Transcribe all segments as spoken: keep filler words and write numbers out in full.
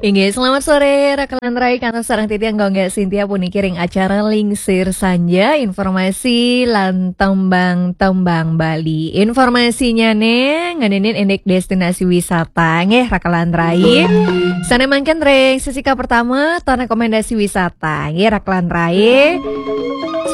Inggih, selamat sore, Raka lan Rai, kantos sareng titiang Gung Sintia puniki ring acara Lingsir Sanja, informasi lan tembang-tembang Bali. Informasinya nih, ngeninin indik destinasi wisata, nggih, Raka lan Rai. Sane mangkin ring sesi kapertama, ton rekomendasi wisata, nggih, Raka lan Rai.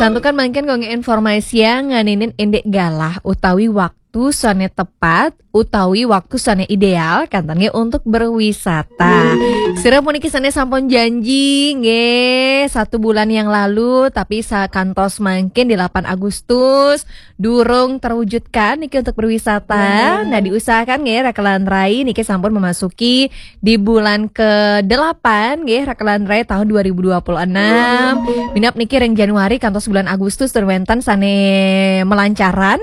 Santukan mangkin kangge informasi ngeninin indik galah utawi waktu sane tepat utawi waktu sane ideal, kenten nggih, untuk berwisata. Sira puniki sane sampun janji, nggih, satu bulan yang lalu, tapi sakantos mangkin delapan Agustus durung terwujudkan niki untuk berwisata. Nah, diusahakan nggih, Raka lan Rai, niki sampun memasuki di bulan kedelapan nggih, Raka lan Rai, tahun dua ribu dua puluh enam. Minab niki ring Januari kantos bulan Agustus ten wenten sane melancaran.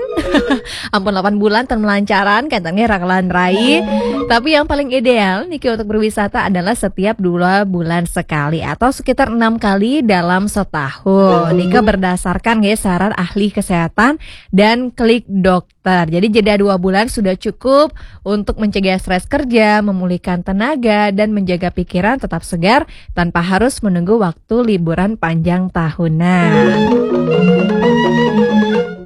Ampun, delapan bulan ten melancaran, kenten nggih, Raka lan Rai. Tapi yang paling ideal niki untuk berwisata adalah setiap dua bulan sekali atau sekitar enam kali dalam setahun. Nika berdasarkan nggih saran ahli kesehatan dan Klik Dokter. Jadi jeda dua bulan sudah cukup untuk mencegah stres kerja, memulihkan tenaga, dan menjaga pikiran tetap segar tanpa harus menunggu waktu liburan panjang tahunan.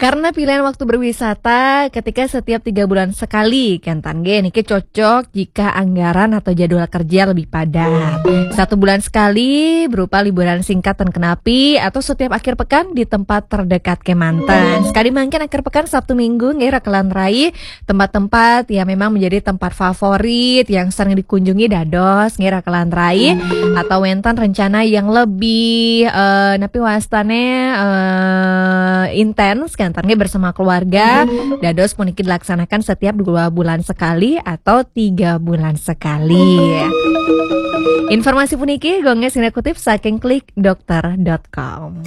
Karena pilihan waktu berwisata ketika setiap tiga bulan sekali, kenten nggih, niki cocok jika anggaran atau jadwal kerja lebih padat. Satu bulan sekali berupa liburan singkat ten kenapi atau setiap akhir pekan di tempat terdekat kemanten. Sekali mangkin akhir pekan Sabtu Minggu nggih, Raka lan Rai, tempat-tempat yang memang menjadi tempat favorit yang sering dikunjungi dados nggih, Raka lan Rai, atau wenten rencana yang lebih, eh, napi wastane, eh, intens, kenten nggih, bersama keluarga, dados puniki dilaksanakan setiap dua bulan sekali atau tiga bulan sekali. Informasi puniki Gung Sintia kutip saking klik dokter dot com.